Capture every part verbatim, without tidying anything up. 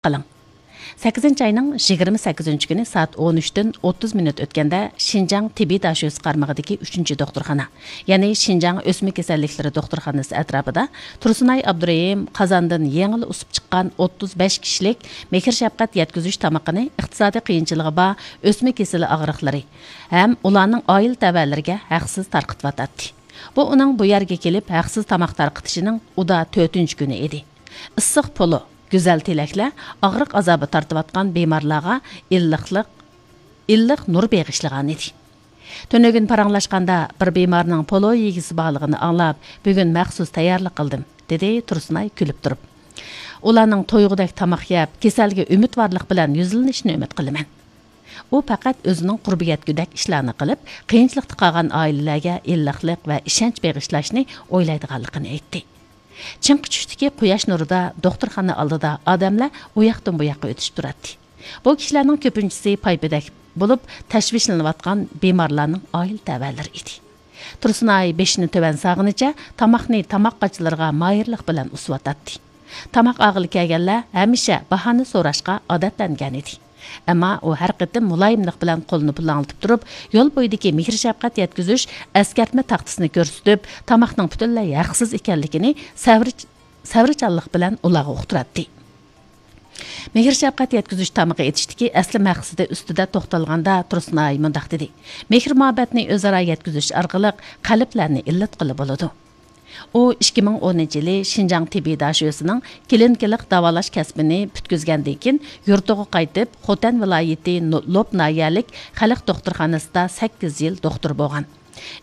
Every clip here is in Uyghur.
قىلىڭ. سەككىزىنچى ئاينىڭ يىگىرمە سەككىزىنچى كۈنى سائەت ئون ئۈچتىن ئوتتۇز مىنۇت ئۆتكەندە، شىنجاڭ تېببىي داشۆسى قارمىقىدىكى ئۈچىنچى دوختۇرخانا، يەنى شىنجاڭ ئۆسمە كېسەللىكلىرى دوختۇرخانىسى ئەتراپىدا تۇرسۇنئاي ئابدۇرېھىم قازاندىن يېڭىلا ئۇسۇپ چىققان ئوتتۇز بەش كىشىلىك مېھىر شەپقەت يەتكۈزۈش تامىقىنى ئىقتىسادىي قىيىنچىلىقى بار ئۆسمە كېسىلى ئاغرىقلىرى ھەم ئۇلارنىڭ ئائىلە تەۋەلىرىگە ھەقسىز تارقىتىۋاتاتتى. بۇ ئۇنىڭ بۇ يەرگە كېلىپ ھەقسىز تاماق تارقىتىشىنىڭ ئۇدا تۆتىنچى كۈنى ئىدى. ئىسسىق پولۇ، گۈزەل تىلەكلەر ئاغرىق ئازابى تارتىۋاتقان بىمارلارغا ئىللىقلىق، ئىللىق نۇر بېغىشلىغانىدى. تۈنۈگۈن پاراڭلاشقاندا، بىر بىمارنىڭ پولۇ يېگۈسى بارلىقىنى ئاڭلاپ، بۈگۈن مەخسۇس تەييارلىق قىلدىم، دېدى تۇرسۇنئاي كۈلۈپ تۇرۇپ. ئۇلارنىڭ تويغۇدەك تاماق يەپ، كېسەلگە ئۈمىدۋارلىق بىلەن يۈزلىنىشىنى ئۈمىد قىلىمەن. ئۇ پەقەت ئۆزىنىڭ قۇربى يەتكۈدەك ئىشلارنى قىلىپ، قىيىنچىلىقتا قالغان ئائىلىلەرگە ئىللىقلىق ۋە ئىشەنچ بېغىشلاشنى ئويلايدىغانلىقىنى ئېيتتى. چىڭقى چۈشتىكى قۇياش نۇرىدا دوختۇرخانا ئالدىدا ئادەملەر ئۇ ياقتىن بۇ ياققا ئۆتۈشۈپ تۇراتتى. بۇ كىشىلەرنىڭ كۆپىنچىسى پايپىدەك بولۇپ، تەشۋىشلىنىۋاتقان بىمارلارنىڭ ئائىلە تەۋەلىرى ئىدى. تۇرسۇنئاي بېشىنى تۆۋەن سالغىنىچە تاماقنى تاماق قاچىلىرىغا ماھىرلىق بىلەن ئۇسۇۋاتاتتى. تاماق ئالغىلى كەلگەنلەر ھەمىشە باھانى سوراشقا ئادەتلەنگەنىدى. ئەمما ئۇ ھەر قېتىم مۇلايىملىق بىلەن قولىنى پۇلاڭلىتىپ تۇرۇپ، يول بويىدىكى مېھىر-شەپقەت يەتكۈزۈش ئەسكەرتمە تاختىسىنى كۆرسىتىپ، تاماقنىڭ پۈتۈنلەي ھەقسىز ئىكەنلىكىنى سەۋر-، سەۋرچانلىق بىلەن ئۇلارغا ئۇقتۇراتتى. مېھىر-شەپقەت يەتكۈزۈش تامىقى ئېتىشتىكى ئەسلى مەقسىتى ئۈستىدە توختالغاندا، تۇرسۇنئاي مۇنداق دېدى: مېھىر-مۇھەببەتنى ئۆزئارا يەتكۈزۈش ئارقىلىق قەلبلەرنى ئىللىتقىلى بولىدۇ. ئۇ ئىككى مىڭ ئونىنچى يىلى شىنجاڭ تېببىي داشۆسىنىڭ كلىنىكىلىق داۋالاش كەسپىنى پۈتكۈزگەندىن كېيىن، يۇرتىغا قايتىپ، خوتەن ۋىلايىتى نو-، لوپ ناھىيەلىك خەلق دوختۇرخانىسىدا سەككىز يىل دوختۇر بولغان.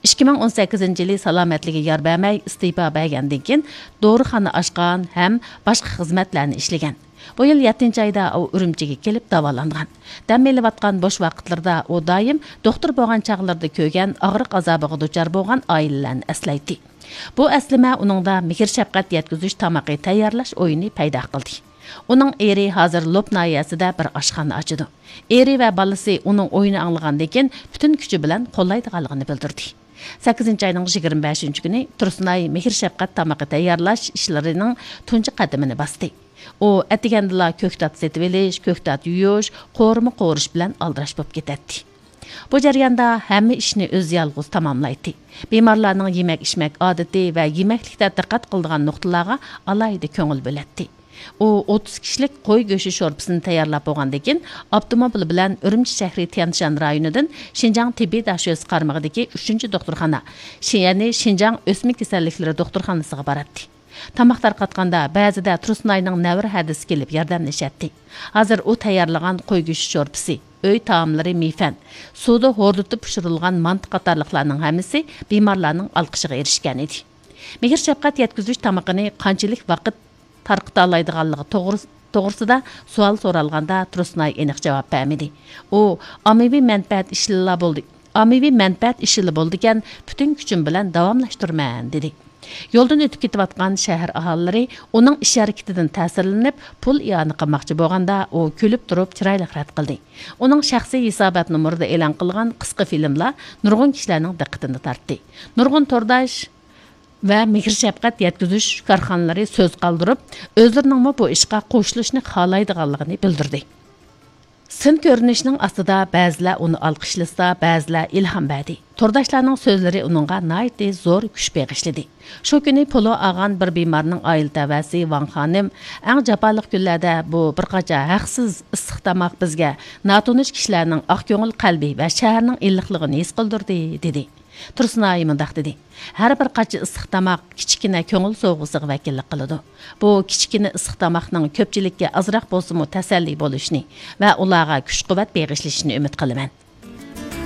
ئىككى مىڭ ئون سەككىزىنچى يىلى سالامەتلىكى يار بەرمەي ئىستېپا بەرگەندىن كېيىن، دورىخانا ئاچقان ھەم باشقا خىزمەتلەرنى ئىشلىگەن. بۇ يىل يەتتىنچى ئايدا ئۇ ئۈرۈمچىگە كېلىپ داۋالانغان. دەم ئېلىۋاتقان بوش ۋاقىتلىرىدا ئۇ دائىم دوختۇر بولغان چاغلىرىدا كۆرگەن ئاغرىق ئازابىغا دۇچار بولغان ئائىلىلەرنى ئەسلەيتتى. بۇ ئەسلىمە ئۇنىڭدا مېھىر-شەپقەت يەتكۈزۈش تامىقى تەييارلاش ئويىنى پەيدا قىلدى. ئۇنىڭ ئېرى ھازىر لوپ ناھىيەسىدە بىر ئاشخانا ئاچىدۇ. ئېرى ۋە بالىسى ئۇنىڭ ئويىنى ئاڭلىغاندىن كېيىن، پۈتۈن كۈچى بىلەن قوللايدىغانلىقىنى بىلدۈردى. سەككىزىنچى ئاينىڭ يىگىرمە بەشىنچى كۈنى تۇرسۇنئاي مېھىر-شەپقەت تامىقى تەييارلاش ئىشلىرىنىڭ تۇنجى قەدىمىنى باستى. ئۇ ئەتىگەندىلا كۆكتات سېتىۋېلىش، كۆكتات يۇيۇش، قورۇما قورۇش بىلەن ئالدىراش بولۇپ كېتەتتى. بۇ جەرياندا ھەممە ئىشنى ئۆزى يالغۇز تاماملايتتى. بىمارلارنىڭ يېمەك-ئىچمەك ئادىتى ۋە يېمەكلىكتە دىققەت قىلىدىغان نۇقتىلارغا ئالاھىدە كۆڭۈل بۆلەتتى. ئۇ ئوتتۇز كىشىلىك قوي گۆشى شورپىسىنى تەييارلاپ بولغاندىن كېيىن، ئاپتوموبىل بىلەن ئۈرۈمچى شەھىرى تيەنشان رايونىدىن شىنجاڭ تېببىي داشۆسى قارمىقىدىكى ئۈچىنچى دوختۇرخانا، شى-، يەنى شىنجاڭ ئۆسمە كېسەللىكلىرى دوختۇرخانىسىغا باراتتى. تاماق تارقاتقاندا بەزىدە تۇرسۇنئاينىڭ نەۋرە ھەدىسى كېلىپ ياردەملىشەتتى. ھازىر ئۇ تەييارلىغان قوي گۆشى شورپىسى، ئۆي تائاملىرى مىيفەن، سۇدا ھوردىتىپ پىشۇرۇلغان مانتا قاتارلىقلارنىڭ ھەممىسى بىمارلارنىڭ ئالقىشىغا ئېرىشكەن ئىدى. مېھىر-شەپقەت يەتكۈزۈش تامىقىنى قانچىلىك ۋاقىت تارقىتالايدىغانلىقى توغرىس-، توغرىسىدا سوئال سورالغاندا، تۇرسۇنئاي ئېنىق جاۋاب بەرمىدى. ئۇ ئاممىۋى مەنپەئەت ئىشىلا بولدى، ئاممىۋى مەنپەئەت ئىشىلا بولىدىكەن، پۈتۈن كۈچۈم بىلەن داۋاملاشتۇرىمەن، دېدى. يولدىن ئۆتۈپ كېتىۋاتقان شەھەر ئاھالىلىرى ئۇنىڭ ئىش ھەرىكىتىدىن تەسىرلىنىپ، پۇل ئىئانە قىلماقچى بولغاندا، ئۇ كۈلۈپ تۇرۇپ چىرايلىق رەت قىلدى. ئۇنىڭ شەخسىي ھېسابات نومۇرىدا ئېلان قىلغان قىسقا فىلىملار نۇرغۇن كىشىلەرنىڭ دىققىتىنى تارتتى. نۇرغۇن تورداش ۋە مېھىر-شەپقەت يەتكۈزۈش كارخانىلىرى سۆز قالدۇرۇپ، ئۆزلىرىنىڭمۇ بۇ ئىشقا قوشۇلۇشنى خالايدىغانلىقىنى بىلدۈردى. سىن كۆرۈنۈشنىڭ ئاستىدا بەزىلەر ئۇنى ئالقىشلىسا، بەزىلەر ئىلھام بەردى. تورداشلارنىڭ سۆزلىرى ئۇنىڭغا ناھايىتى زور كۈچ بېغىشلىدى. شۇ كۈنى پولۇ ئالغان بىر بىمارنىڭ ئائىلە تەۋەسى ۋاڭ خانىم، ئەڭ جاپالىق كۈنلەردە بۇ بىر قاچا ھەقسىز ئىسسىق تاماق بىزگە ناتونۇش كىشىلەرنىڭ ئاق كۆڭۈل قەلبى ۋە شەھەرنىڭ ئىللىقلىقىنى ھېس قىلدۇردى، دېدى. تۇرسۇنئاي مۇنداق دېدى: ھەر بىر قاچا ئىسسىق تاماق كىچىككىنە كۆڭۈل سوۋغىسىغا ۋەكىللىك قىلىدۇ. بۇ كىچىككىنە ئىسسىق تاماقنىڭ كۆپچىلىككە ئازراق بولسىمۇ تەسەللى بولۇشىنى ۋە ئۇلارغا كۈچ-قۇۋۋەت بېغىشلىشىنى ئۈمىد قىلىمەن.